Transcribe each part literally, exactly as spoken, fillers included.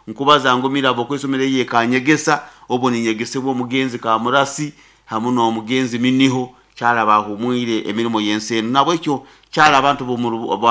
Nkubaza ngumira ab'okwisomero eye Kanyegesa, obu ninyegesebwa omugenzi Kamurasi hamu n'omugenzi Miniho kyali bahumwire emirimo y'ensi enu. Nabwekyo kyali abantu b'omu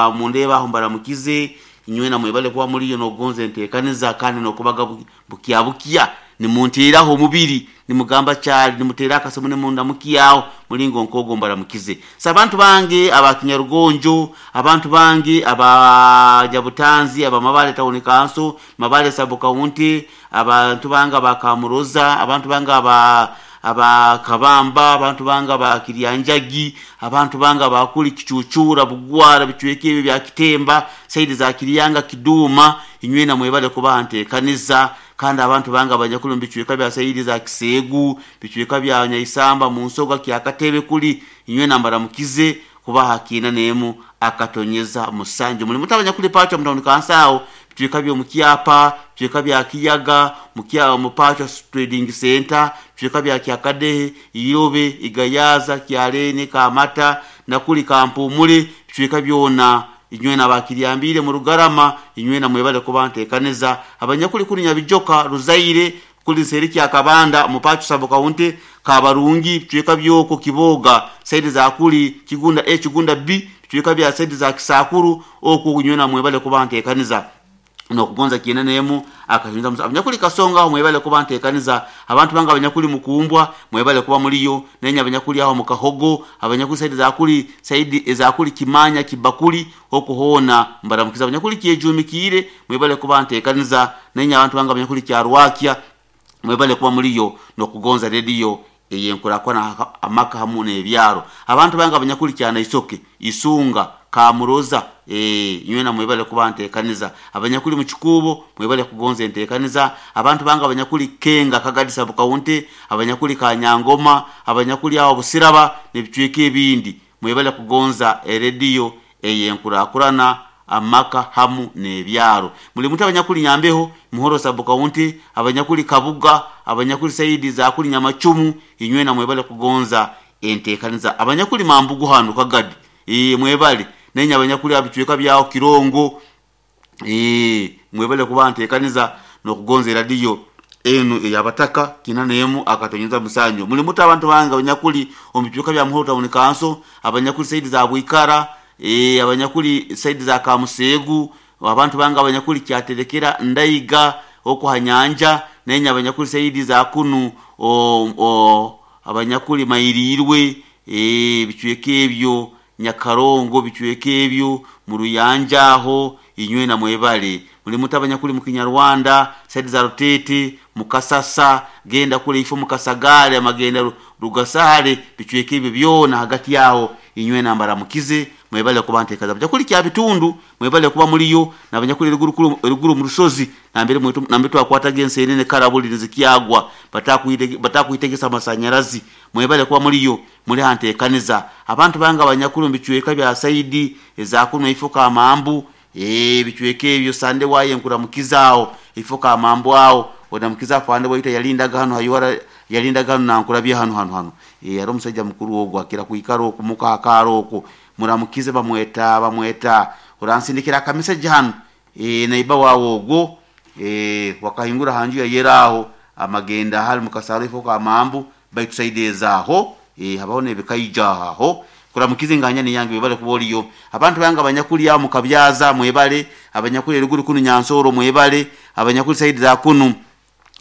aho mbaramukize inywena, mwebale kuba muliyo n'okugonza enteekaniza kandi n'okubaga bukya bukya nimunteeraho omubiri, nimugamba kyali nimuteera akasimu nimundamukyaho mulingo nk'ogwo, mbaramukize. So abantu bange aba Kinyarugonjo, abantu bange aba Nyabutanzi, aba Mabale Town Council, Mabale Sub County, abantu bange aba Kamuroza, abantu bange aba aba Kabamba, abantu bange aba Kiryanjagi, abantu bange abakuli Kicucura, Bugwara, bicweka ebyo bya Kitemba, side za Kiryanga, Kiduma, inywena mwebale kuba nteekaniza. Kandi abantu bange abanyakuli mu bicweka bya side za Kiseegu, bicweka bya Nyaisamba, mu Nsoga, Kyakatebe kuli, inywena mbaramukize kuba hakiina nemu akatonyeza musanju. Muli mutu abanyakuli Pacho mu town council aho, bicweka by'omukyapa, bicweka bya Kiyaga, mukya mu Pacho Trading Center, bicweka bya Kyakadehe, Iyobe, Igayaza, Kyalene, Kamata, nakuli Kampumule, bicweka byona inywena bakiryambire mu Rugarama, inywena mwebale kuba nteekaniza. Abanyakuli kuli Nyabijoka, Ruzaire, kuli Nseriki ya Kabanda, mu Pacho Sub County, Kabarungi, bicweka byoko Kiboga, side za kuli Kigunda A, Kigunda B, bicweka bya side za Kisakuru, okwo inywena mwebale kuba nteekaniza nokugonza kiina nemu akanyuza musa. Abanyakuli Kasonga aho mwebale kuba nteekaniza. Abantu bange abanyakuli Mukumbwa mwebale kuba muliyo, nenya abanyakuli aho Mukahogo, abanyakuli side za kuli side za kuli Kimanya, Kibakuli, okuhona mbaramukiza. Abanyakuli Kyejumikire mwebale kuba nteekaniza, nenya abantu bange abanyakuli Kyarwakya mwebale kuba muliyo nokugonza radio eyenkurakwana amaka hamu n'ebyaro. Abantu bange abanyakuli Kyanaisoke, Isunga, Kamuroza, eh nywena mwebale kuba nteekaniza. Abanyakuli mu Kikuubo mwebale kugonza enteekaniza. Abantu bange abanyakuli Kenga, Kagadi Sub County, abanyakuli Kanyangoma, abanyakuli aho Busiraba n'ebicweka ebindi mwebale kugonza erediyo eyenkurakurana amaka hamu n'ebyaro. Muli mutu abanyakuli Nyambeho, Muhoro Sub County, abanyakuli Kabuga, abanyakuli saidi za kuli Nyamacumu, inywena mwebale kugonza enteekaniza. Abanyakuli Mambugu hano Kagadi, eh mwebale nenya abanyakuli abicweka byaho Kirongo, eh mwebale kuba nteekaniza nokugonza eradiyo enu eyabataka kina nemu akatonyeza musanju. Muli mutu abantu bange abanyakuli omu bicweka bya Muhoro Town Council, abanyakuli saidi za Bwikara, eh abanyakuli saidi za Kamusegu, abantu bange abanyakuli Kyaterekera, Ndaiga, okwo hanyanja, nenya abanyakuli saidi za kunu o, o abanyakuli Mairirwe, eh bicweka ebyo Nyakarongo, bicweka ebyo mu Ruyanja aho inywena mwebale. Muli mutu abanyakuli mu Kinyarwanda, saidi za Rutete, Mukasasa, genda kule ifo Mukasagale, amagenda Rugasale, bicweka ebyo byona hagati yaho inywena mbaramukize mwebale kuba nteekaza. Abanyakuli kya bitundu mwebale kuba muliyo, n'abanyakuli eruguru eruguru mu rusozi nambere mwetu nambere twakwataga ensenene karabuli nizikyagwa batakuitegesa amasanyarazi mwebale kuba muliyo muli hanteekaniza. Abantu bange abanyakuli mu bicweka bya saidi eza kuno ifo Kamambu, eh bicweka ebyo Sande waye nkuramukizaawo ifo Kamambu awo onamukiza afande waita yalindaga hano hayora yalindaga hano nankurabye hano hano hano eh ari omusajja mukuru ogwo akira kuikaro okumuka akaro okwo muramukize bamweta bamweta oransindikira akameseji hano eh naiba wawo ogwo eh wakahingura hanju ya yeraho amagenda hali mukasaro ifo Kamambu baitusaidezaho eh habaho nebikaija aho kuramukize nganya ni yange bebale kuboliyo. Abantu bange abanyakuli ya mukabyaza mwebale, abanyakuli eruguru kunu Nyansoro mwebale, abanyakuli saidi za kunu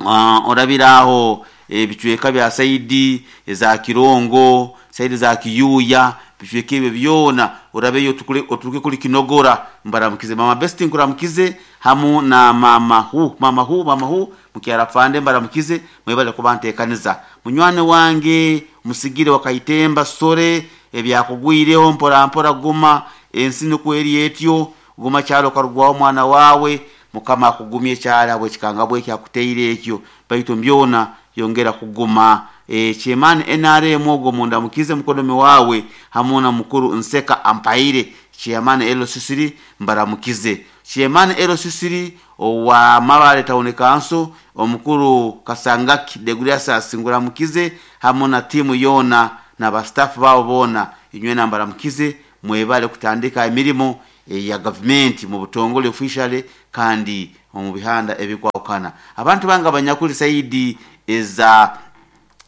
uh, orabiraho ebicweka e, bya saidi za Kirongo, saidi za Kiyuya, bicweka ebyo byona orabeyo tukule oturuke kuli Kinogora mbaramukize. Mama Besti nkuramukize hamu na mama hu mama hu mama hu mukyarafande mbaramukize mwebale kuba nteekaniza. Munywane wange musigire wakaitemba sore ebyakugwireho mpora mpora guma ensi nuko eri etyo guma kyalo karugwaho mwana wawe mukama akugumye kyala bwe kikanga bwe kyakuteire ekyo baitu mbyona yongera kuguma. E, Chairman N R M ogwo munda mukize mukodomi wawe hamuna mukuru Nseka Ampaire Chairman L C C mbaramukize. Chairman L C C owa Mabale Town Council omukuru Kasangaki Degrasas nguramukize hamuna timu yona na ba staff babo bona inywena mbaramukize mwebale kutandika emirimo e, ya government mu butongole officially kandi Omu bihanda ebikwahukana abantu bange abanyakuli saidi eza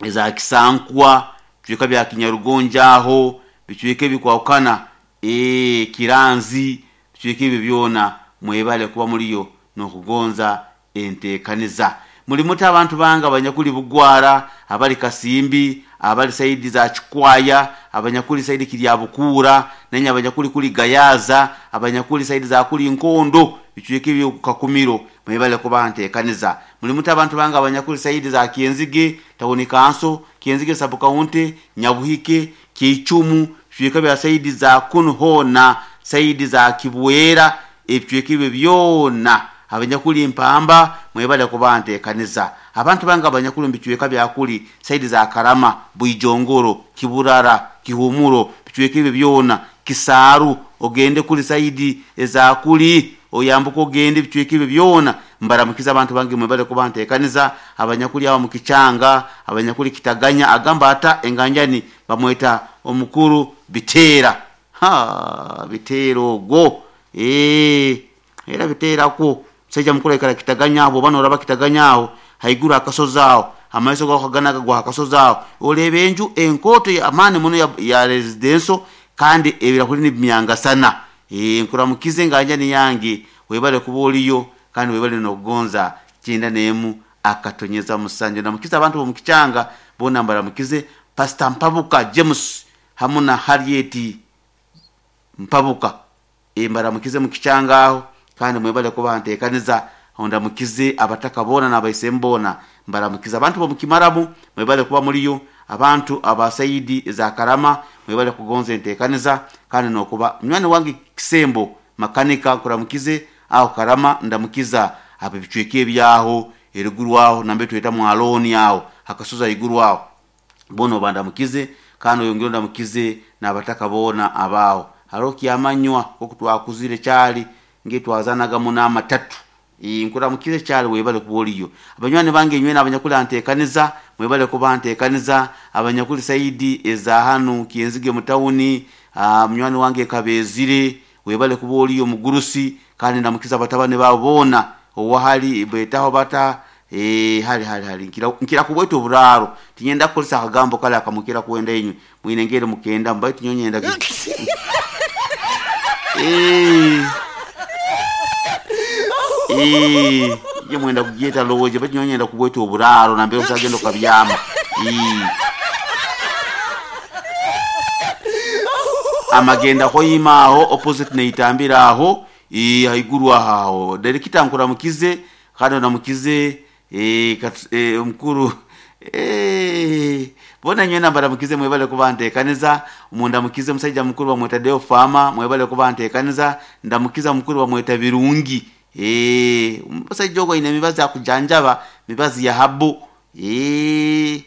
eza Kisankwa, bicweka bya Kinyarugonja aho bicweka ebikwahukana, ee Kiranzi, bicweka ebyo byona mwebale kuba muliyo n'okugonza enteekaniza. Muli muti abantu bange abanyakuli Bugwara, abali Kasimbi, abali saidi za Kikwaya, abanyakuli saidi Kiryabukuura, nenye abanyakuli kuli Gayaza, abanyakuli saidi za kuli Nkondo, bicweka ebyo Kakumiro, mwebale kuba nteekaniza. Muli muti abantu bange abanyakuli saidi za Kyenzige tawuni kanso, Kyenzige sub county, Nyabuhike, Kiicumu, bicweka bya saidi za kunu hoona, saidi za Kibwera, ebicweka ebyo byona abanyakuli Mpamba mwebale kuba nteekaniza. Abantu bange abanyakuli mubicweka byakuli saidi za Karama, Bwijongoro, Kiburara, Kihumuro, bicweka ebyo byona, Kisaaru, ogende kuli saidi ezakuli oyambuka ogende ebicweka ebyo byona mbaramukiza abantu bange mwebale kuba nteekaniza. Abanyakuli abo mukichanga, abanyakuli Kitaganya, agamba ata enganjani bamweta omukuru Biteera. Ha, Biteera ogwo ee era Biteerako musajja mukuru aikara Kitaganya aho, oba noraba Kitaganya aho haiguru akasozi aho, amaiso gawe kaganaga gwa akasozi aho, oreeba enju enkooto y'amaani muno ya, ya residential kandi ebirahuri nibimyangasana. Ee nkuramukize enganjani yange, webale kuba oliyo kandi webale n'okugonza kyenda n'emu akatonyeza musanju. Ndamukize abantu b'omukichanga boona mbaramukize. Pastor Mpabuka James hamu na Harriet Mpabuka, e mbaramukize mukichanga aho kandi mwebale kuba nteekaniza. Ndamukize abataka boona n'abaisemu boona mbaramukize. Abantu b'omukimaramu mwebale kuba muliyo. Abantu abasaidi za Karama mwebale kugonza enteekaniza kandi n'okuba munywani wange Kisembo makanika nkuramukize aho Karama. Ndamukiza abo ebicweka ebyaho eriguru aho nambe tweta mwaloni aho akasozi aiguru aho boona obandamukize, kandi oyongere ondamukize n'abataka boona abaaho. Hariho kyamanywa oku twakuzire kyali ngetwazanaga muno amatatu. Nkuramukize kyali webale kuba oliyo. Abanywani bange inywena abanyakuli anteekaniza mwebale kuba nteekaniza. Abanyakuli saidi eza hanu Kyenzige mutawuni, munywani wange Kabezire webale kuba oliyo mugurusi, kandi ndamukiza abatabani baabo boona owahali betaho bata ee hali hali hali nkira nkira kubweta oburaaro tinyenda kukozesa akagambo kale akamukira kwenda inywe mwine ngere mukenda mbaye tinyonyenda ee ee ye mwenda kugyeta lowoje bati nyonyenda kubweta oburaaro nambere osagenda okabyama. Ee amagenda hoyima aho opposite neitambira aho ee haiguru aho direkita nkuramukize kandi ndamukize ee e, omukuru ee bona nywena mbaramukize mwebale kuba nteekaniza. Mundamukize musajja mukuru bamweta Deo Fama mwebale kuba nteekaniza. Ndamukiza mukuru bamweta Birungi ee musajja ogwo aine emibazi akujanjaba mibazi ya habu ee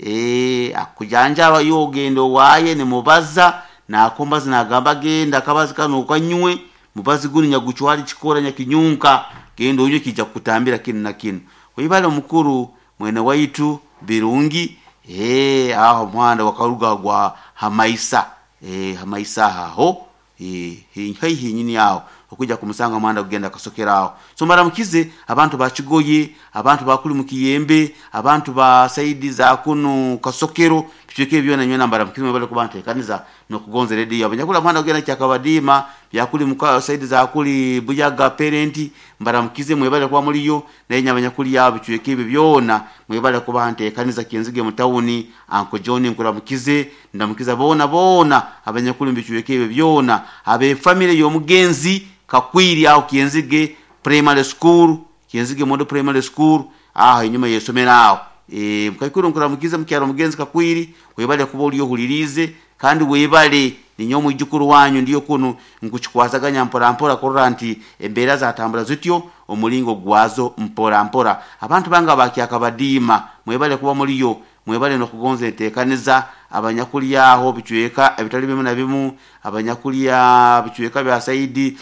ee akujanjaba yo ogenda owaaye nimubaza nakombazi nagamba genda akabazi kano okanywe mubazi gunu nyaguchwali chikora nyakinyunka genda onywe kijja kukutambira kinu na kinu. Webale omukuru mwene waitu Birungi ee aho muhanda wakaruga gwa Hamaisa ee Hamaisa aho ee haihi nyini aho okujja kumusanga muhanda kugenda kasokera aho. So mbaramukize abantu bakigoye, abantu bakuli mukiyembe, abantu ba saidi za kunu Kasokero, bicweka byona nywena mbaramukize mwebale kuba nteekaniza n'okugonza rediyo. Abanyakula muhanda kugenda Kyakabadiima byakuli muka saidi za kuli Buyaga parent mbaramukize mwebale kuba muliyo. Naye abanyakuli abo bicweka ebyo byona mwebale kuba nteekaniza. Kyenzige mutawuni Uncle John nkuramukize, ndamukiza boona boona abanyakuli mbicweka ebyo byona, abe family y'omugenzi Kakwiri aho Kyenzige primary school, Kyenzige Mondo primary school aho enyuma yesomera aho e mukaikuru nkuramukize mukyaro mugenzi Kakwiri webale kuba oliyo hulirize kandi webale ninyo mwijukuru wanyu ndiyo kunu nkuchikwasaganya mpora mpora kurora nti embeera zatambula zityo omulingo gwazo mpora mpora. Abantu banga bakyakabadiima mwebale kuba muliyo, mwebale n'okugonza enteekaniza. Abanyakuli aho bicweka ebitali bimu na bimu, abanyakuli bicweka bya saidi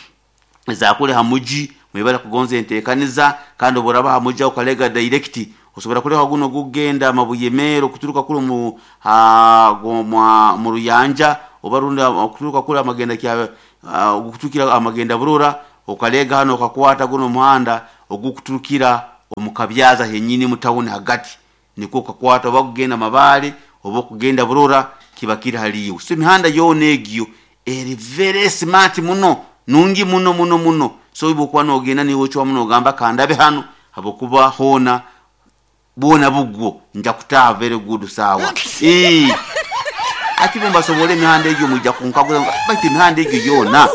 zakule hamuji mwebale kugonza enteekaniza. Kandi oboraba hamuji okalega direct osobola kuleka guno gugenda Mabuye Meero kuturuka kule mu ha gomwa mu Ruyanja oba runda kuturuka kule amagenda kya uh, kutukira amagenda Burora okalega hano okakwata guno muhanda ogukuturukira omu Kabyaza henyini mu tawuni hagati, nikwo kakwata oba kugenda Mabale oba okugenda Burora, kiba kiri haliiwe. So emihanda yoona egyo eri very smart muno, nungi muno muno muno. So iwe okuba nogenda niiwe ocwamu nogamba kandabe hanu, habwokuba hoona bwona bugwo nja kutaaha very good saawa. Ii, ati bo mbasobora emihanda egyo mwija kunkaguza baitu emihanda egyo yoona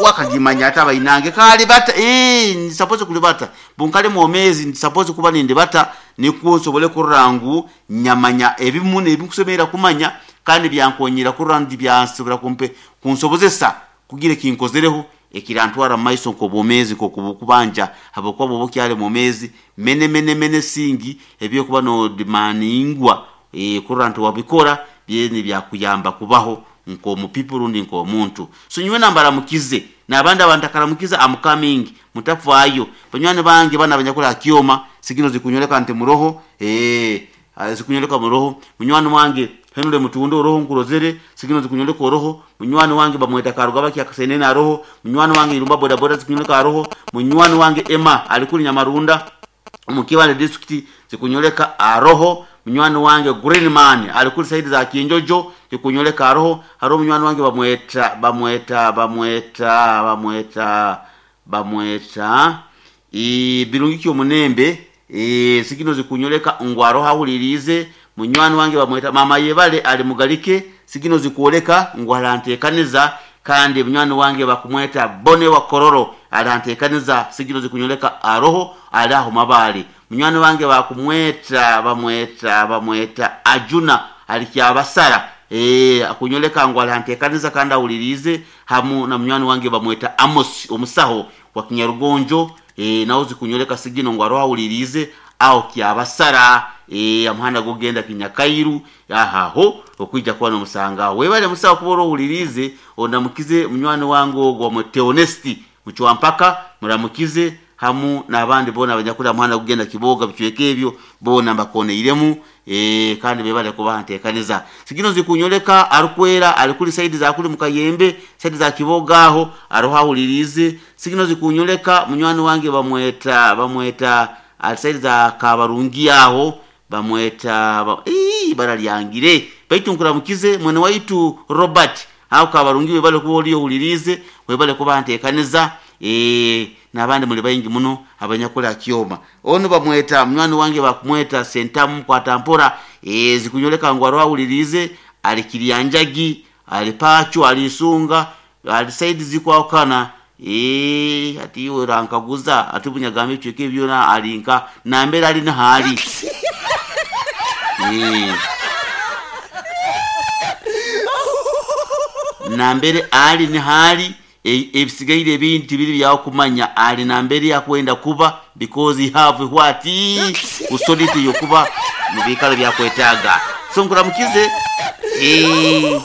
wakagimanya ata bainange kalibata. Ii, ndi supposed kulibata bunkali mwomezi, ndi supposed kuba nindibata nikwo nsobole kurora ngu nyamanya ebimu nebinkusemera kumanya, kandi byankonyera kurora ngu byansobora kumpe kunsobozesa kugira ekinkozereho ekirantwara mu maiso nk'obwomezi nk'okubanja, habwokuba bwoba okyali mwomezi mene mene mene singi ebyokuba nodimandingwa e, kurora nti wabikora byeni byakuyamba kubaho nk'omupipo rundi nk'omuntu. So nyowe nambaramukize n'abandi abantakaramukiza, am coming, mutafaayo banywani bange bana abanyakuli ha kyoma sigino zikunyoleka nti muroho, eh, zikunyoleka muroho. Munywani wange Henry Mutundo oroho nkurozere, sigino zikunyoleka oroho. Munywani wange bamweta Karugaba Kyakasenene aroho. Munywani wange Irumba boda boda zikunyoleka aroho. Munywani wange Emma alikuli Nyamarunda omu Kibale district zikunyoleka aroho. Munywani wange Greenman alikuli side za Kinjojo zikunyoleka aroho. Haro munywani wange bamweta bamweta bamweta bamweta bamweta e, Birungi Omunembe e, sigino zikunyoleka ngu aroho ahulirize. Munywani wange bamweta Mama Yebale ali Mugalike sigino zikuoleka ngu arantekaniza. Kandi munywani wange bakumweta Bone wa Kororo arantekaniza sigino zikunyoleka aroho ali aho Mabale. Munywani wange bakumweta bamweta bamweta Ajuna ali Kyabasara e, akunyoleka ngu arantekaniza kandi ahulirize. Hamu na munywani wange bamweta Amos omusaho wa Kinyarugonjo e, nawo zikunyoleka sigino ngu aroho ahulirize aho Kyabasara e, amuhanda gogenda Kinyakairu ahaho okwija kuba nomusanga. Webale musaho kuba orohulirize, ondamukize munywani wange ogwo mwete Honesti Muchwampaka muramukize hamu n'abandi bona abanyakuli muhanda kugenda Kiboga bicweka ebyo bona mbakoneiremu e, kandi bebale kuba ntekaniza. Sigino zikunyoleka arukwera alikuli side za kuli mukayembe side za Kiboga aho aroha ahulirize. Sigino zikunyoleka munywani wange bamweta bamweta side za Kabarungi aho bamweta ba, ii baralyangire baitu nkuramukize mwene waitu Robert aho Kabarungi webale kuba oliyo hulirize, webale kuba ntekaniza e, n'abandi muli baingi muno abanyakula kyoma. Ono bamweta munywani wange bakumweta Sentamu kwatampora e, zikunyoleka ngu aroha ahulirize ali Kiryanjagi ali Pacho ali Isunga ali side zikwakana e, ati iwe rankaguza ati bunyagambe ecweka ebyona alinka nambere ali nahali e. Nambere ali nihali ebisigaire ebintu biri byakumanya ali nambere yakwenda kuba because he have what authority yokuba mu bikalo byakwetaga. So nkuramukize eh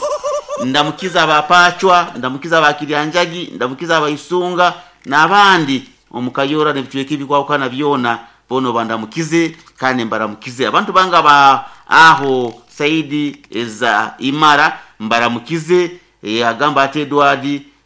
ndamukiza abapachwa, ndamukiza abakiryanjagi, ndamukiza abayisunga n'abandi omukayora n'ebicweka ebikwawukana byona bono bandamukize kandi mbaramukize. Abantu banga ba aho Saidi eza Imara mbaramukize e, agamba ati Edward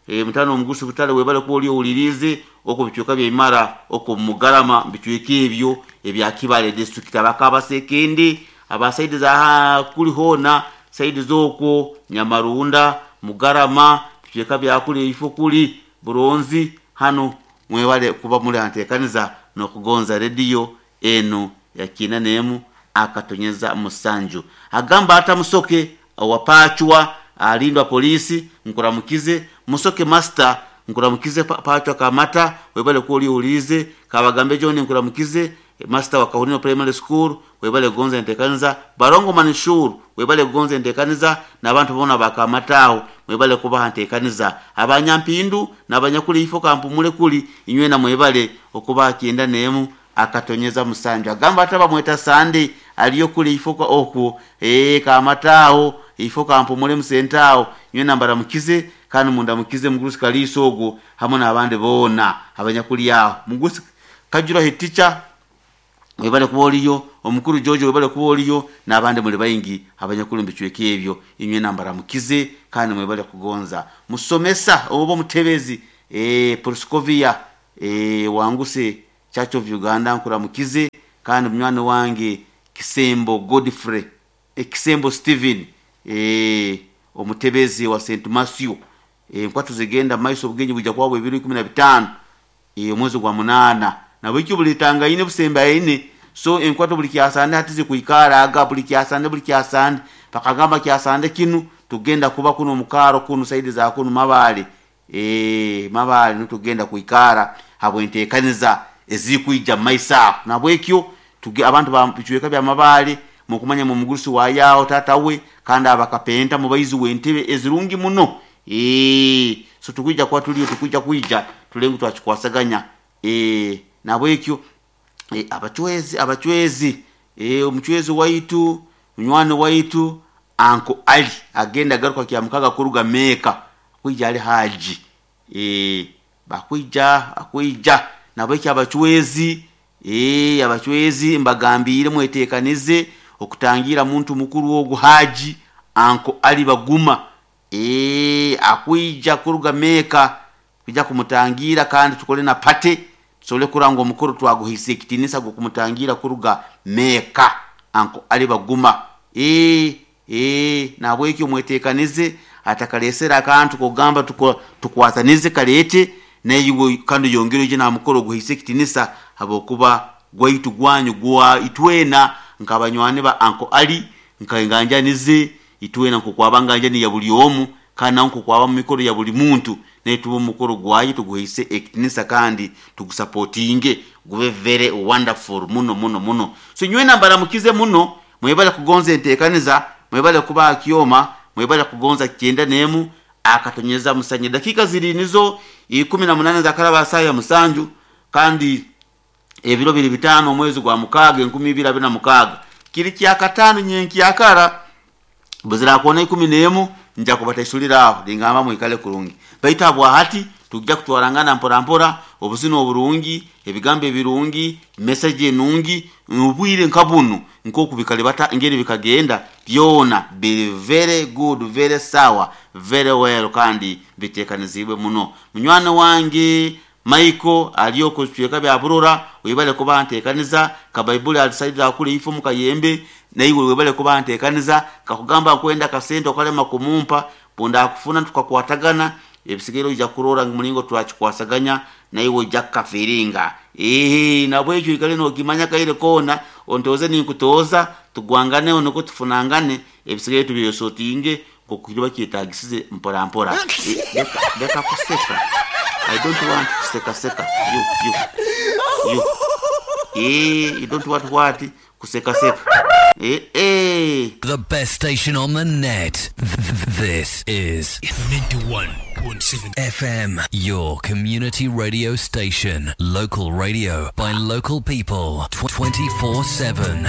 e, mutano omugusu butale webale kuba oli owulirize okwo bicweka bya Imara okwo Mugarama bicweka ebyo ebya Kibale district abakabasekendi abasaidi za kuli hona saidi zokwo Nyamarunda Mugarama bicweka bya kuli ifo kuli Buronzi hano mwebale kuba muli antekaniza nokugonza radio eno ya kinanemu akatonyeza musanju. Agamba ata musoke wapachwa alindwa polisi nkuramukize musoke master nkuramukize pachwa kamata webale kuoli ulize kabagambe John nkuramukize master wa Kahunino Primary School webale gonza ntekaniza barongo manishuru webale gonza ntekaniza n'abantu bona bakamataho webale kubaha ntekaniza abanyampindu n'abanyakuli ifo kampumule kuli inywe na mwebale okuba kienda nemu akatonyeza musanju. Agamba ataba mweta Sande aliyo kuli ifo kwa oku eh kamataho ifo kampumule musentao nywe nambara mukize kandi munda mukize mugurusi kaliso ogo hamwe n'abandi bona abanyakuli yaho mugurusi kajura hiticha webale kuba oliyo omukuru George webale kuba oliyo n'abandi muli bayingi abanyakuli mbicweka ebyo inywe nambara mukize kandi mwebale kugonza musomesa obo mutebezi eh Proscovia eh wanguse Church of Uganda nkuramukize, kandi munywani wange Kisembo Godfrey, eh, Kisembo Steven, eh, omutebezi wa Saint Matthew. eh, nkwatu zigenda maiso, obugenyi bujja kuba bw'ebiro ikumi na bitaano, eh, omwezi gwa munaana. Nabwekyo bulitangaine busembaine. So enkwato buli kyasande hati zikuikara aga buli kyasande, buli kyasande bakagamba kyasande kinu tugenda kuba kuno mukaro kuno saidi za kuno Mabale, eh Mabale nitugenda kuikara habwentekaniza ezikuija maisa. Nabwekyo tuge abantu ba bichweka bya Mabale mukumanya mu mugurusi wa yao tata we, kandi abakapenta mubaizi wentebe ezirungi muno. Eh so tukuija kwa tuliyo tukuija kuija tulengu twachikwasaganya. Eh nabwekyo e, abachwezi abachwezi e, omuchwezi waitu munywani waitu Anko Ali agenda garuka kya mukaga kuruga Meka kwija ali haji, e, bakwija akwija. Nabwekyo abachwezi, e, abachwezi mbagambire mwetekanize okutangira muntu mukuru ogu Haji Anko Ali Baguma, e, akwija kuruga Meka kwija kumutangira, kandi tukole na pate tusobole kuranga omukuru twaguhisa ekitinisa gukumutangira kuruga Meka Anko Ali Baguma. E, e, nabwekyo mwetekanize atakalesera akantu kugamba tukwatanize kalete naiwe kandi yongere uje na mukoro guhisa ekitinisa habokuba gwaitu gwanyu gwa itwena nkabanywani ba Anko Ali nkainganjanize itwena nkukwabanganja ya buli omu kana nkukwaba mu mikoro ya buli muntu netuba omukoro gwayi tuguhise ekitinisa kandi tugusapotinge gube very wonderful muno muno muno. So nywena mbaramukize muno, mwebale kugonza entekaniza, mwebale kuba kioma, mwebale kugonza kyenda nemu akatonyeza musanye. Dakika ziri nizo ikumi na munane za karaba saya musanju, kandi ebiro biri bitano omwezi gwa mukaga enkumi ibiri abiri na mukaga kiri kya katano nyenki yakara buzira kuona ikumi nemu nja kubataisulira aho lingamba mwikale kurungi baita bwa hati tujja kutwarangana mpora mpora obuzino oburungi ebigambo ebirungi message enungi ubwire nkabunu nkoku bikalibata ngeri bikagenda byona be very good very sour very well kandi bitekanizibwe muno. Munywani wange Michael aliyoko chweka bya burora webale kuba ntekaniza ka Bible alisaidira kule ifo mukayembe na iwe webale kuba ntekaniza kakugamba kwenda kasente okalema kumumpa bunda akufuna tukakwatagana ebisigero ija kurora mulingo twachikwasaganya na iwe ija kafiringa eh nabwekyo ikale no kimanya kaire kona ontoze ni kutoza tugwangane onoko tufunangane ebisigero tubiyosotinge kokiriba kitagisize mpora mpora. E, leka, leka kuseka. I don't want kuseka seka. You you you eh you don't want what kuseka seka. Eh eh The best station on the net. This is ninety-one point seven F M, your community radio station. Local radio by local people twenty-four seven.